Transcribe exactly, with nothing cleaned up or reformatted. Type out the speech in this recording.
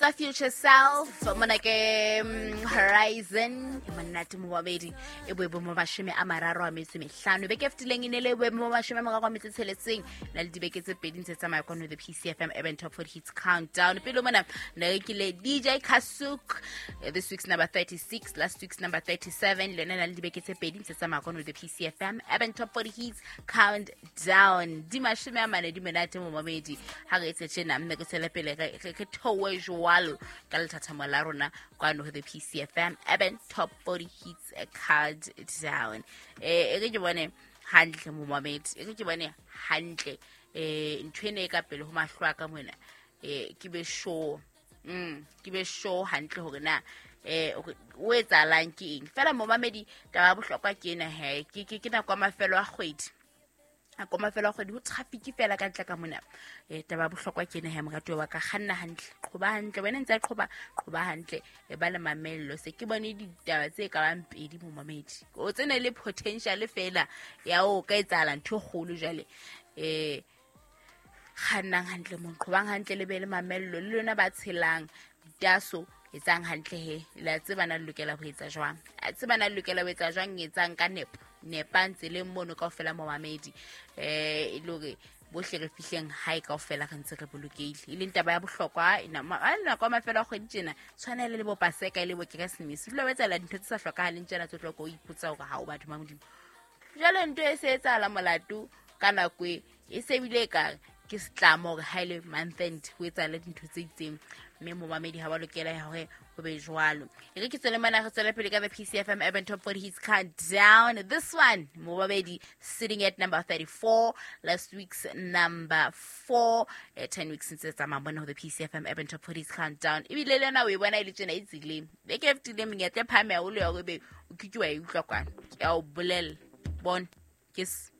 Bitsa Future Self mona ke mm, Horizon e monate momamedi, e boemo bo mashome a mararo a metso e mehlano. Beke e fetileng e ne le boemo bo mashome a mararo a metso e tsheletseng, na le dibeke tse pedi ntse tsamaya kwano the P C F M Urban Top forty Hits Countdown. Pele mona ne re kile D J Kasuk, eh, this week's number thirty-six, last week's number thirty-seven, le yona na le dibeke tse pedi ntse tsamaya kwano the P C F M Urban Top forty Hits Countdown. Di mashome a mane, di monate momamedi. Ha re etse tjena mme re tswele pele, re re- re theohe jwalo ka lethathamo la rona kwano ho the P C F M Urban Top forty Hits Countdown. eh e re ke bone hantle momamedi, e re ke bone hantle eh ntho ena e ka pele ho mahlo a ka mona, eh ke be sure, mm ke be sure hantle hore na eh o etsahalang ke eng fela momamedi. Taba ya bohlokwa ke ena he, ke ke ke nako ya mafelo a kgwedi, nako ya mafelo a kgwedi, ho traffic fela ka ntle ka mona. um taba ya bohlokwa ke ena he, moratuwa wa ka, kganna hantle, qhoba hantle, wena ntse a qhoba, qhoba hantle, e ba le mamello. Se ke bone ditaba tse ka bang pedi momamedi, o tsene le potential fela ya o ka etsahala ntho e kgolo jwale. um kgannang hantle mo, qhobang hantle, le be le mamello le lona ba tshelang ditaso. Etsang hantle he, le a tseba na le lokela ho etsa jwang, a tseba na le lokela ho etsa jwang. Etsang ka nepo, nepang tseleng mono kaofela momamedi, um e le hore bohle re fihleng hae kaofela re ntse re bolokehile, e leng taba ya bohlokwa. E na- ma- a nako ya mafelo a kgwedi tjena tshwanele le bo Paseka e le bo Keresemese, dula o etsahala dintho tse sa hlokahaleng tjena tse tlo ko o ipotsa hore ha o batho ba Modimo. Jwale ntho e se etsahala molato ka nako e e se ebile e kare ke setlamo hore ha e le month end ho etsahale dintho tse itseng, mme momamedi ha wa lokela hore ho be jwalo. E re ke tswele mana, re tswele pele ka the P C F M Urban Top forty Hits Countdown. This one momamedi, sitting at number thirty-four, last week's number four, eh, ten weeks since tsamaya mona ho the P C F M Urban Top forty Hits Countdown. Ebile le yona o e bona e le tjena e tseleng beke e fetileng, menyetla e phahame haholo ya hore ebe o ke ke wa e utlwa kwana. Ke a o bolella, bone ke se